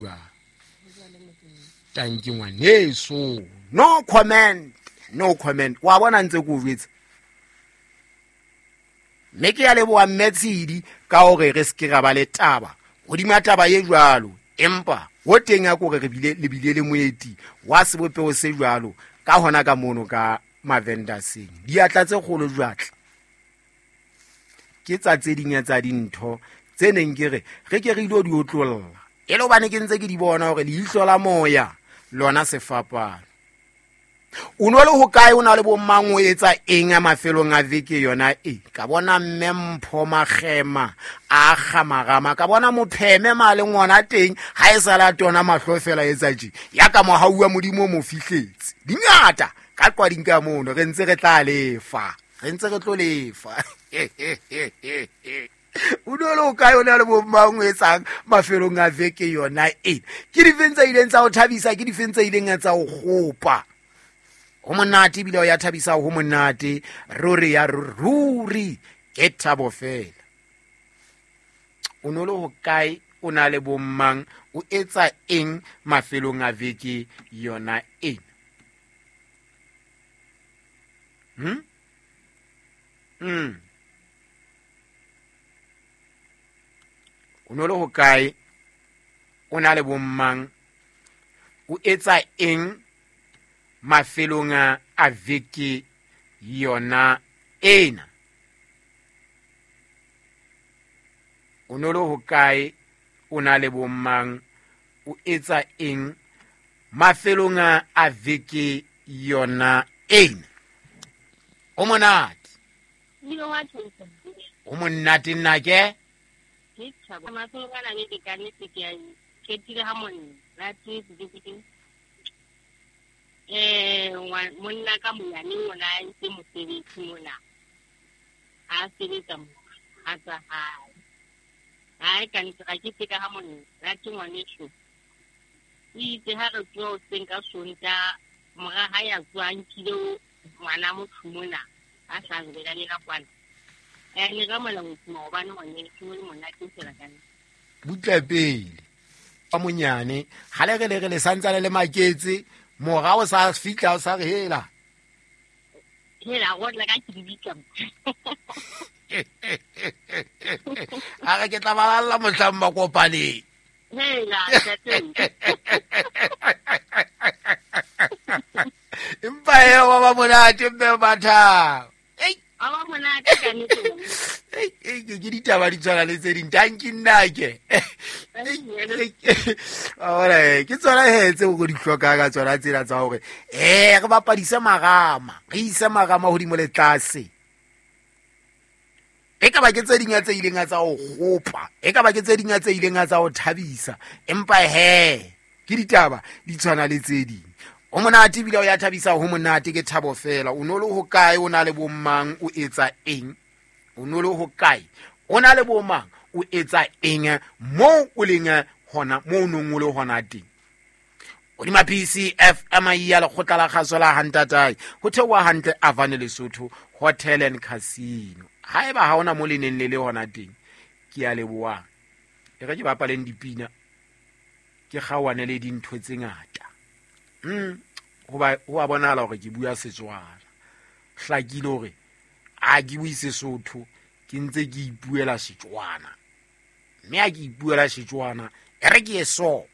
Jwang tanki ngwaneso? No comment, no comment. Wa bona ntse ke o jwetsa, mme ke ya leboa mme Tshedi ka gore re seke ra ba le taba godima taba ye jwalo, empa go teng ya kore re bile le bile le moeti wa sebopego se jwalo ka gona ka mono ka mavendaseng. Diatla tse kgolo jwatla ke tsa tse ding tsa dintho tse neng ke re re ke re ilo di otlolla, e le hobane ke ntse ke di bona gore leihlo la moya lona sefapano. O no le hokae, o na le bommang, o etsa eng a mafelong a veke yona e? Ka bona mme Mpho Magema a gamarama, ka bona mopheme ma le ngwana teng ga e sala tona mahlo fela etsa je ya ka mohau wa Modimo o mo fihletse. Dingata ka qwading ka mono, re ntse re tla lefa, re ntse re tlo lefa. O ne le o kae, o na le bommang, o etsang mafelong a veke yona e? Ke difeng tse ileng tsa go thabisa, ke difeng tse ileng tsa go kgopa? Go monate ebile o ya thabisa, go monate ruri ya ruri, ke thabo fela. O ne le ho kae, o na le bommang, o etsa eng mafelong a veke yona ena? O ne le ho kae, o na le bommang, o etsa eng mafelong a veke yona ena? O ne le ho kae, o na le bommang, o etsa eng mafelong a veke yona ena? O monate, o monate nnake. Ke thabo mafelong ana beke, ka nnete ke a qetile ha monate. Monna ka monyane ona a entse mosebetsi mona, a sebetsa a tsa hae. Hae ka nnete ga ke tse ka ha monate ngwaneso. O itse ha re tsoa hoseng ka Sonta, mora ha ya tsoa nkile ngwana motho mona a sa nbelanela kwana, ne ka mola ngwetsi maobane ngwaneso o le monate fela ka nnete. Butle pele wa monyane ga le re le re le santsane le maketse, mora o sa fihla o sa re hela. Hela go tla ka ke di bitsa. A re ke tla balalla mohlang ba kopaneng. Hela ntate. Empa e wa ba monate mme ba thabo. A ba monate ka nnete. Ke ditaba di tshwana le tse ding. Tanki nnake. Ora ke tsona he tse go di hloka ka tsona tsela tsa hore re bapadise marama, re ise marama hodimo le tlase. E ka ba ke tse ding tse ileng tsa o kgopa, e ka ba ke tse ding tse ileng tsa o thabisa, empa he ke ditaba di tshwana le tse ding. O monate ebile o ya thabisa, ho monate ke thabo fela. O no le ho kae, o na le bommang, o etsa eng? O no le ho kae, o na le bomang, o etsa eng moo o leng hona, moo o nong o le hona teng? Hodima PCFM ya lekgotla la kgaso la Hantatae, ho theoha hantle Avane Lesotho Hotel and Casino. Haeba ha hona mo le neng le le hona teng, ke a leboha. E re ke bapaleng dipina, ke kgaoane le dintho tse ngata. Hoba ho a bonahala hore ke bua Setswana, hlakile hore a ke bue Sesotho, ke ntse ke ipuela Setswana, mme a ke ipuela Setswana e re ke e so.